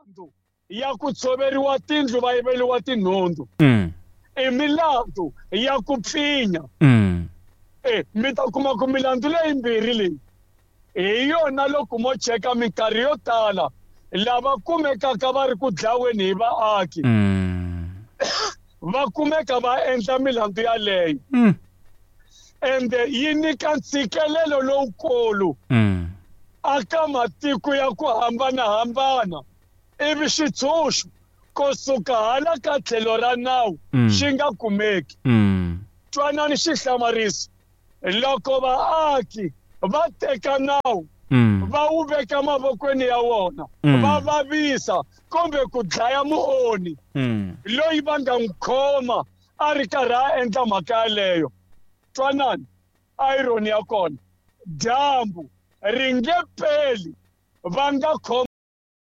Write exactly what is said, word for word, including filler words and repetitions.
Milandzu ya ku tshoveriwa tindlu va yiveriwa tinhundzu Mm. i milandzu ya ku pfinya. Mm. E mi ta kuma ku milandzu leyimbirhi leyi hi yona loko mo cheka minkarhi yo tala lava kumekaka va ri ku dlaweni hi vaaki Mm. va kumeka va endla milandzu yaleyo. Mm. Ende yi nyika ntshikelelo lowukulu Mm. aka matiko ya ku hambanahambana, ivi xitshunxo kusuka hala ka tlhelo ra nawu Mm. xi nga kumeki. Mm. Twanani xihlamariso, loko vaaki va teka nawu Mm. va wu veka mavokweni ya wona Mm. va vavisa kumbe ku dlaya muoni Mm. loyi va nga n'wi khoma a ri karhi a endla mhaka yaleyo. Twanani irony ya kona, dyambu ri nge peli va nga khomi